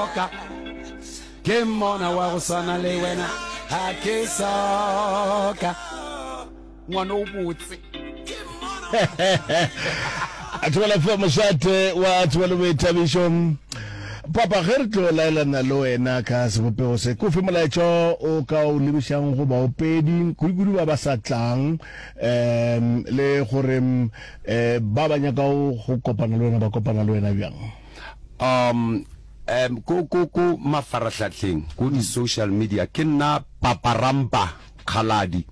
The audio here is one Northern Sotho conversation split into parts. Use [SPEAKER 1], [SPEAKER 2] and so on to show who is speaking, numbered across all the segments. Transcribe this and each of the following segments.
[SPEAKER 1] soka ke mmona wa go swana le wena ga ke soka ngwana o botse
[SPEAKER 2] a thobela fa mošate wa tsebo le boithabišo papa ge re tlo laelana le wena ka sebopego se kofe molaetša o ka o lebišang go baopedi kudu-kudu ba ba sa tlang um le gore um ba ba nyaka go kopana le wena ba kopana le wena bjang
[SPEAKER 1] um um ko ko ko mafarahlahleng ko di-social media ke nna paparampa Kgaladi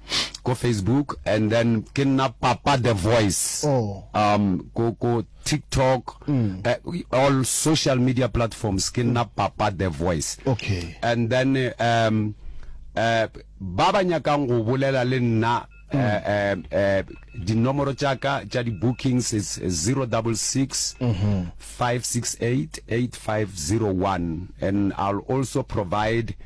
[SPEAKER 1] ko Facebook and then ke nna Papa the Voice
[SPEAKER 2] oh.
[SPEAKER 1] um ko ko TikTok mm. uh, all social media platforms ke nna Papa the Voice
[SPEAKER 2] okay
[SPEAKER 1] and then um uh, ba ba nyakang go bolela le nna mm. uh, uh, uh, dinomoro tša ka tša di-bookings is 066 mm -hmm. 568 8501 and I'll also provide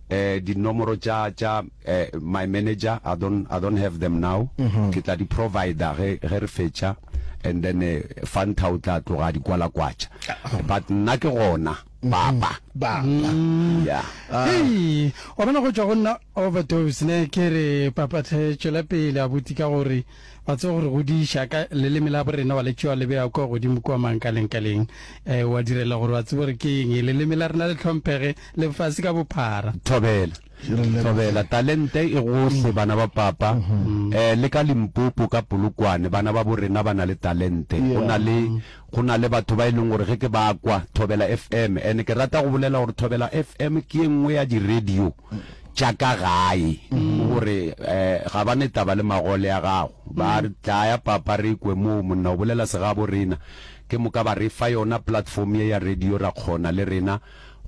[SPEAKER 1] eh dinomoro tša tša eh, my manager I don't I don't have them now mm -hmm. ke tla di provider ge ge re fetša and then eh, Fanta o tla tloga di kwalakwatša ah. but nna ke gona mhm. papa
[SPEAKER 2] baba
[SPEAKER 1] mm. yeah
[SPEAKER 3] ah. hey wa bona go tšwa go nna overdose ne ke re papa tlhe tšwela pele abuti ka gore Wa tseba gore godiša ka leleme la borena wa le tšewa le beya kua godimo kua mankalengkaleng. Eh, wa direla gore wa tseba gore ke eng leleme la rena le hlomphege lefase ka bophara.
[SPEAKER 1] Thobela. Thobela. Talente e gohle bana ba papa. Eh, le ka Limpopo ka Polokwane bana ba borena ba na le talente. Go na le go na le batho ba e leng gore ge ke ba kwa Thobela FM and ke rata go bolela gore Thobela FM ke e nngwe ya di radio tša ka gae gore um ga ba ne taba le magole a gago ba re tlaya papa re kwe moo monna o bolela segabo rena ke moka ba re fa yona platform ye ya radio ra kgona le rena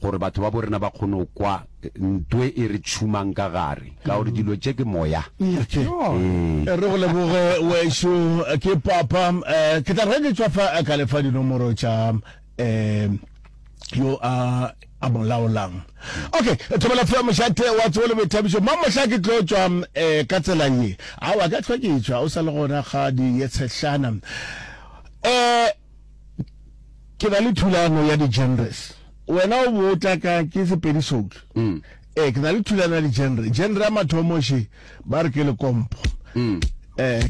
[SPEAKER 1] gore batho ba bo rena ba kgone go kwa ntwe e re tšhumang ka gare ka gore dilo tše ke moya
[SPEAKER 2] ee re go leboge wešo ke papa um ke tla re ke tšwa fa ka lefa dinomoro tša um yo a a mo laolang okay thobela fela mošate wa tsebo le boithabišo ma mohla ke tlo tšwa um ka tsela ye aowa ka tlhwa ke tšwa o sa le gona ga di ye tshehlana um ke na le thulano ya di-genres wena o bo tla ka ke sepedi soul mm. ee ke na le thulano ya di-genre genre ya mathomo še ba re ke lekompo mm. eh, ke.